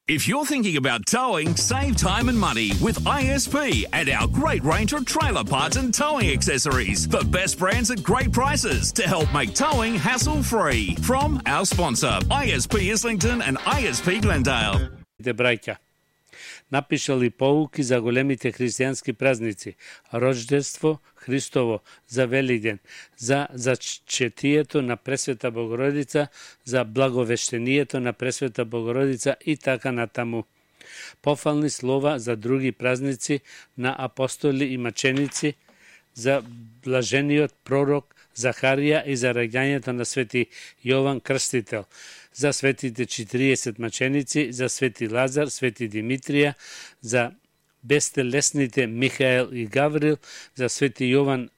If you're thinking about towing, save time and money with ISP and our great range of trailer parts and towing accessories. The best brands at great prices to help make towing hassle-free. From our sponsor, ISP Islington and ISP Glendale. Браќа, напишали поуки за големите христијански празници, Рождество Христово, за Великден, за зачетието на Пресвета Богородица, за благовештението на Пресвета Богородица и така натаму. Пофални слова за други празници на апостоли и маченици, за блажениот пророк Захарија и за раѓањето на свети Јован Крстител, за светите 40 маченици, за свети Лазар, свети Димитрија, за бестелесните Михаел и Гаврил, за свети Јован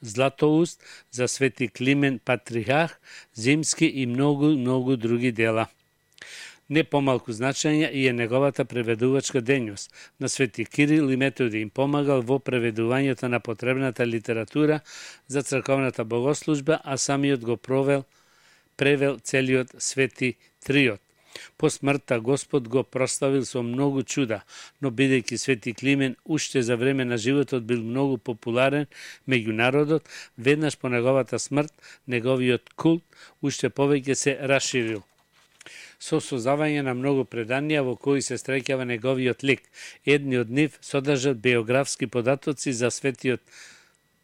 Златоуст, за свети Климен Патрихах, Зимски и многу други дела. Не помалку значење и е неговата преведувачка дејност. На свети Кирил и Методи им помагал во преведувањето на потребната литература за црковната богослужба, а самиот го превел целиот свети триот. По смртта Господ го прославил со многу чуда, но бидејќи свети Климен уште за време на животот бил многу популарен меѓу народот, веднаш по неговата смрт, неговиот култ уште повеќе се расширил. Со создавање на многу преданија во кои се стрекава неговиот лик. Едни од нив содржат биографски податоци за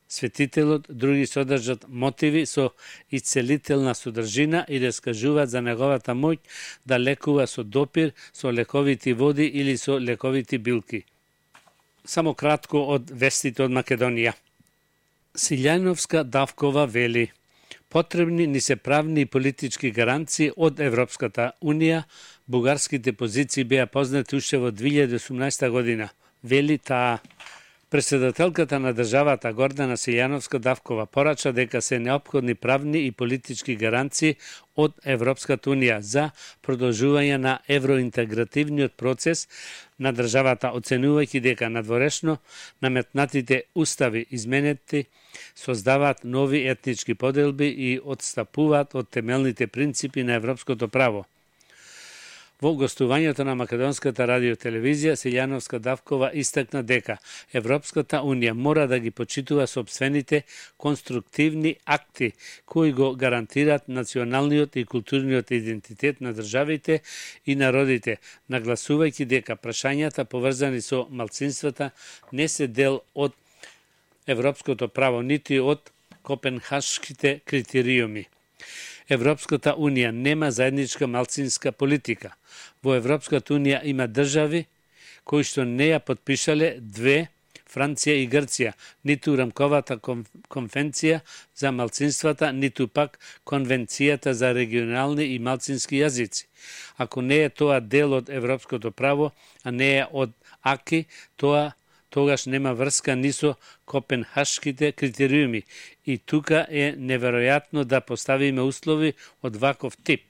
светителот, други содржат мотиви со исцелителна содржина и раскажуваат за неговата моќ да лекува со допир, со лековити води или со лековити билки. Само кратко од вестите од Македонија. Силјановска Давкова вели: потребни ни се правни и политички гаранции од Европската Унија. Бугарските позиции беа познати уште во 2018 година. Вели таа. Председателката на државата Гордана Силјановска Давкова порача дека се неопходни правни и политички гаранции од Европската Унија за продолжување на евроинтегративниот процес на државата, оценувајќи дека надворешно наметнатите устави изменети создаваат нови етнички поделби и отстапуваат од темелните принципи на европското право. Во гостувањето на Македонската радиотелевизија, Силјановска Давкова истакна дека Европската Унија мора да ги почитува сопствените конструктивни акти кои го гарантираат националниот и културниот идентитет на државите и народите, нагласувајќи дека прашањата поврзани со малцинствата не се дел од европското право, нити од копенхашките критериуми. Европската Унија нема заедничка малцинска политика. Во Европската Унија има држави кои што не ја подпишале две, Франција и Грција, ниту рамковата конвенција за малцинствата, ниту пак конвенцијата за регионални и малцински јазици. Ако не е тоа дел од европското право, а не е од АКИ, тогаш нема врска ни со копенхашките критериуми и тука е неверојатно да поставиме услови од ваков тип.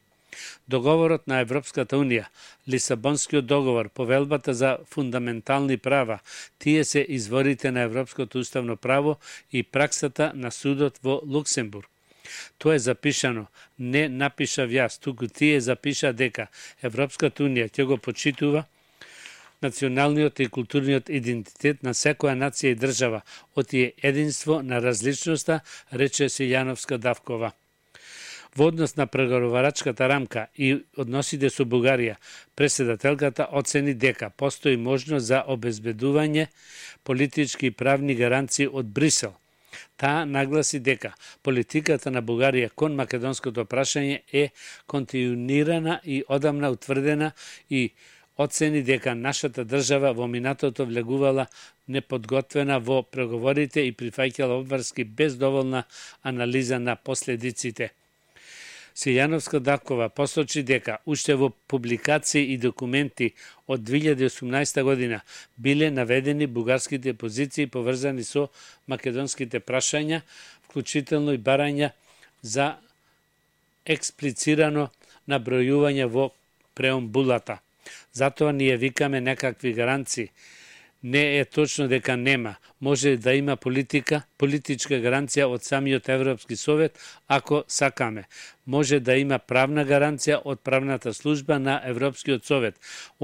Договорот на Европската Унија, Лисабонскиот договор, повелбата за фундаментални права, тие се изворите на европското уставно право и праксата на судот во Луксембург. Тоа е запишано, не напишав јас, туку тие запиша дека Европската Унија ќе го почитува националниот и културниот идентитет на секоја нација и држава, оти единство на различноста, рече Силјановска Давкова. Во однос на преговарачката рамка и односите со Бугарија, председателката оцени дека постои можност за обезбедување политички и правни гаранции од Брисел. Таа нагласи дека политиката на Бугарија кон македонското прашање е континуирана и одамна утврдена и оцени дека нашата држава во минатото влегувала неподготвена во преговорите и прифаќала обврски без доволна анализа на последиците. Силјановска Давкова посочи дека уште во публикации и документи од 2018 година биле наведени бугарските позиции поврзани со македонските прашања, вклучително и барања за експлицирано набројување во преамбулата. Затоа ние викаме некакви гаранции. Не е точно дека нема. Може да има политичка гаранција од самиот Европски совет, ако сакаме. Може да има правна гаранција од правната служба на Европскиот совет.